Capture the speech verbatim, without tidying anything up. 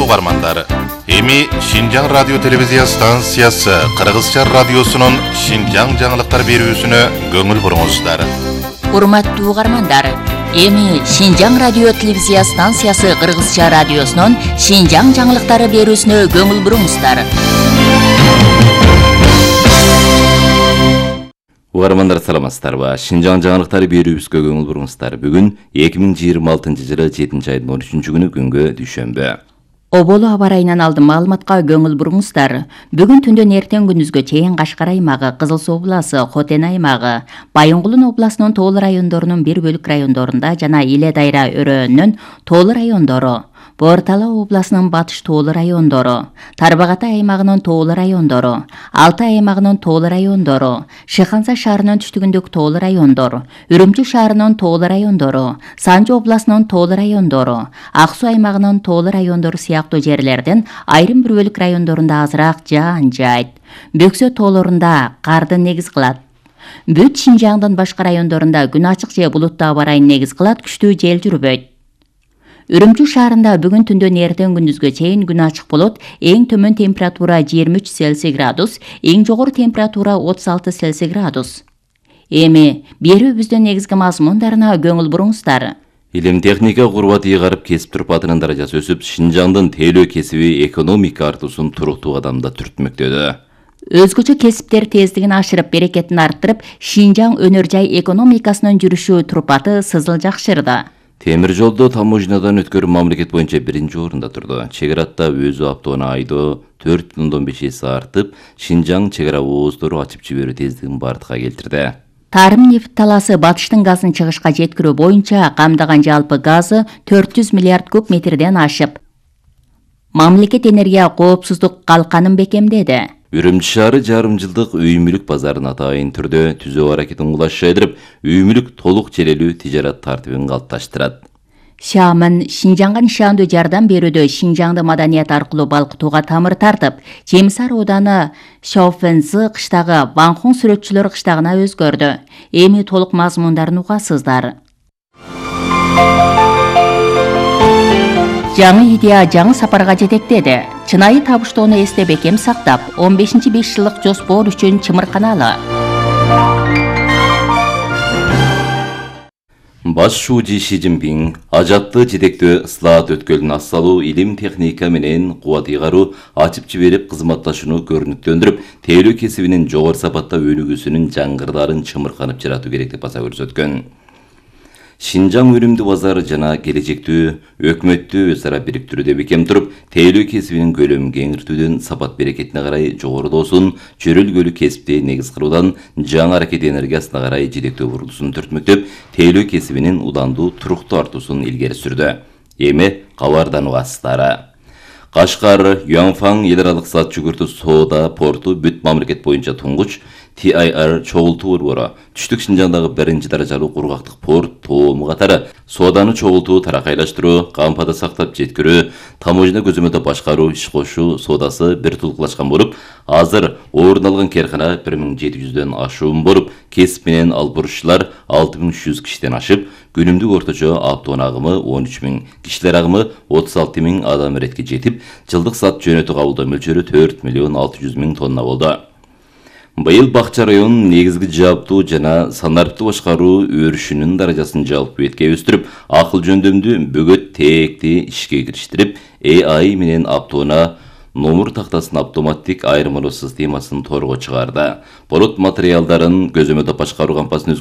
урматтуу угармандар, эми Шинжаң радио телевизия станциясы Кыргызча радиосунун Шинжаң жаңылыктар берүүсүнө көңүл буруңуздар. Урматтуу угармандар, эми Шинжаң радио телевизия станциясы Кыргызча радиосунун Шинжаң жаңылыктары берүүсүнө көңүл буруңуздар. Угармандар, саламатсыздарбы? Шинжаң жаңылыктары берүүбүзгө көңүл буруңуздар. Бүгүн эки миң жыйырма алтынчы жылы жетинчи айдын он үчүнчү күнү күнгө дүйшөмбү. Оболу аба райынан алдын маалыматка көңүл буруңуздар. Бүгүн түндөн эртең күндүзгө чейин Кашкар аймагы, Кызыл Суу областы, Хотен аймагы, Байынгулун областынын тоолуу райондорунун бир бөлүк райондорунда жана Иле Дайра өрөөнүнүн тоолуу райондору, Бортала областынын батыш тоолуу райондору, Тарбагатай аймагынын тоолуу райондору, Алтай аймагынын тоолуу райондору, Шыханса шаарынын түштүгүндөгү тоолуу райондор, Үрүмчү шаарынын тоолуу райондору, Санжы областынын тоолуу райондору, Ак Суу аймагынын тоолуу райондору сыяктуу жерлердин айрым бир бөлүк райондорунда азыраак жаан жайт. Бөксө тоолорунда карды негиз кылат. Бүт Шинжаңдын башка райондорунда күн ачык же булуттуу аба райын негиз кылат, күчтүү жел жүрбөйт. Үрүмчү шаарында бүгүн түндөн эртең күндүзгө чейин күн ачык болот. Эң төмөн температура жыйырма үч Цельсий градус, эң жогору температура отуз алты Цельсий градус. Эми берүүбүздүн негизги мазмундарына көңүл буруңуздар. Илим техника курбат ыйгарып кесип турпатынын даражасы өсүп, Шинжаңдын тейлөө кесиби экономика артуусун туруктуу кадамда түртмөктөдө. Өзгөчө кесиптер тездигин ашырып, берекетин арттырып, Шинжаң өнөр жай экономикасынын жүрүшү турпаты сызыл жакшырды. Темир жолдо таможнядан өткөрүү мамлекет боюнча биринчи орунда турду. Чек аратта өзү автоунаа айдоо төрт бүтүн ондон беш эсе артып, Шинжаң чек ара ооздору ачып жиберүү тездигин бардыкка келтирди. Тарым нефт таласы батыштын газын чыгышка жеткирүү боюнча камдаган жалпы газы төрт жүз миллиард куб метрден ашып, мамлекет энергия коопсуздук калканын бекемдеди. Үрүмчү шаары жарым жылдык үй мүлүк базарын атайын түрдө түзөө аракетин улашайдырып, үй мүлүк толук челелүү тижарат тартибин калыпташтырат. Шамын Шинжаңга нишандуу жардам берүүдө Шинжаңды маданият аркылуу балкытууга тамыр тартып, Чемисар ооданы Шауфензы кыштагы Ванхун сүрөтчүлөр кыштагына өзгөрдү. Эми толук мазмундарын угасыздар. Жаңы идея жаңы сапарга жетектеди. Чынайы табыштоону эсте бекем сактап, он бешинчи беш жылдык жоспор үчүн чымырканалы. Баш шуужи Ши Цзиньпин ажатты жетектөө ыслаат өткөлүн ассалуу, илим техника менен кубат ыйгаруу, ачып жиберип кызматташууну көрүнүктөндүрүп, тейлөө кесибинин жогору сапатта өнүгүүсүнүн жаңгырдарын чымырканып жаратуу керек деп баса көрсөткөн. Шинжаң өнүмдүү базары жана келечектүү өкмөттү өз ара бириктирүүдө бекем туруп, тейлөө кесибинин көлөмүн кеңиртүүдөн, сапат берекетине карай жогорулоосун, чөрөлгөлү кесипти негиз кылуудан жаңы аракет энергиясына карай жетектөө бурулуусун түртмөктөп, тейлөө кесибинин удандуу, туруктуу артуусун илгери сүрдү. Эми кабардан угасыздар. Кашкар, Юанфан эл аралык зат жүгүртүү соода порту бүт мамлекет боюнча туңгуч Ти Ай Ар чогултуу борбору, түштүк Шинжаңдагы биринчи даражалуу кургактык порт тоому катары сооданы чогултуу, таракайлаштыруу, кампада сактап жеткирүү, таможня көзөмөлдө башкаруу, иш кошуу соодасы бир тулкулашкан болуп, азыр орун алган керкана бир миң жети жүздөн ашуун болуп, кесип менен албурушчулар алты миң үч жүз кишиден ашып, күнүмдүк орточо автоунаа агымы он үч миң, кишилер агымы отуз алты миң адам иретке жетип, жылдык зат жөнөтүү кабылдоо мөлчөрү төрт миллион алты жүз миң тонна болду. Быйыл Бакча районунун негизги жааптуу жана санариптүү башкаруу өрүшүнүн даражасын жалпы бетке өстүрүп, акыл жөндөмдүү бөгөт тээкти ишке кириштирип, Э Ай менен автоунаа номер тактасынын автоматтик айырмалоо системасын торго чыгарды. Болот материалдарын көзөмөлдө башкаруу кампасын